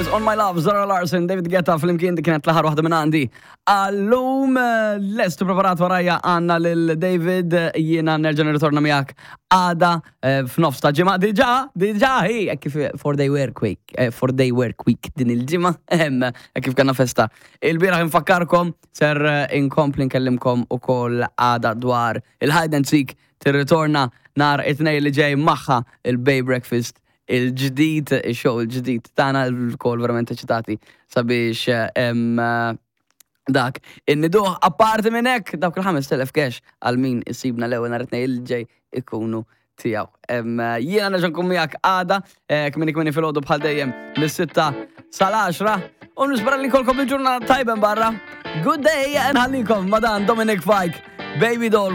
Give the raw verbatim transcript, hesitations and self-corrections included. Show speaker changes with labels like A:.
A: Years on My Love, Zara Larsson, David Guetta, flimkien. Dik kienet l-aħħar waħda minn għandi. Għallum lest u preparat warajja għandna lil David, jiena nerġa' nirritorna miegħek għada eh, f'nofs ta' ġimgħa. Diġà, diġà, hi, hekk kif four day work week, eh, four day work week din il-ġimgħa, ehem, hekk kif kellna festa. Il-bieraħ infakkarkom, ser eh, inkompli nkellimkom ukoll għada dwar il-hide and seek tirritorna nhar it-Tnejn li ġej, magħha il-Bay Breakfast il-ġdid, il-show il-ġdid tagħna, lkoll verament eċitati sabiex em, dak. Inniduh. Apparti minn hekk, dawk il-ħamest elef cash għal min isibna l-ewwel nhar it-Tnejn il-ġej ikunu tiegħu. Em, Jiena nerġa' nkun miegħek għada, eh, kmieni kmieni filgħodu bħal dejjem mis-sitta sal-għaxra u nispera li jkollkom il-ġurnata tajba barra. Good day, nħallikom ma' dan Dominic Fike, Baby Doll.